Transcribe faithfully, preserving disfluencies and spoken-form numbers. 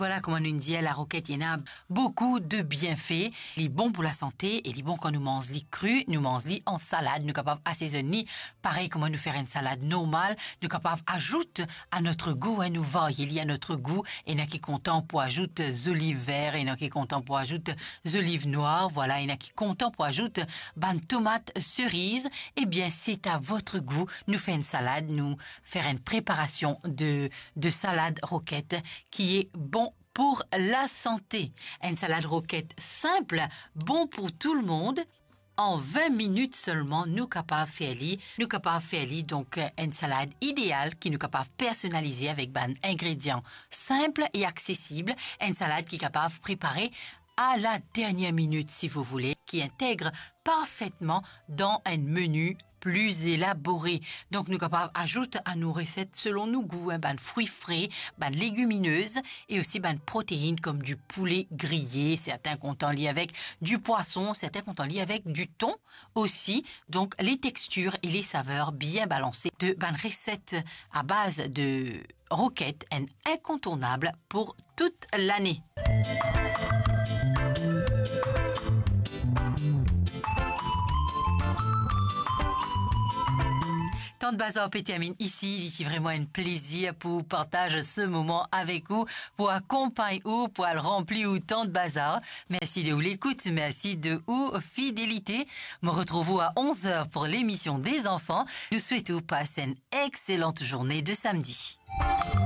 Vwala, kouma nou dir, laroket, li ena boukou de bienfe. Li bon pou lasante e li bon kan nou manz li kri, nou manz li an salad, nou kapav asezonn li parey kouma nou fer enn salad normal, nou kapav azout à notre goût, hein, nou varye li à notre goût. Ena ki kontan pou azout zoliv ver, ena ki kontan pou azout zoliv nwar, vwala, ena ki kontan pou azout bann tomat seriz. Ebien, c'est à votre goût. Nou fer enn salad, nou fer enn preparasion de, de salad roket ki e bon pou lasante. Enn salad roket sinp, bon pou tou le mond. An vin minit selman, nou kapav fer li, nou kapav fer li, donk, enn salad ideal ki nou kapav personalize avek bann ingredian sinp e aksesib, enn salad ki kapav prepare à la dernière minute, si vous voulez, ki integre parfetman dan enn meni pli elabore. Donk, nou kapav azout à nou reset selon nou gou, hein, bann frui fre, bann legiminez e osi bann protein kom du poulet grillé. Sertin kontan li avek du pwason, sertin kontan li avek du ton osi. Donk, les textures et les saveurs bien balansées de bann reset à base de roket, enn inkontournab pou tout lane. Tant Bazar pe terminn isi, li ti vreman enn plezir pou partaz se moman avek ou, pou akonpagn ou, pou al ranpli ou Tant Bazar. Mersi de ou lekout, mersi de ou fidelite. Mo retrouv ou à onze heures pour l'émission des enfants. Nou swet ou pas enn exselante journée de samedi.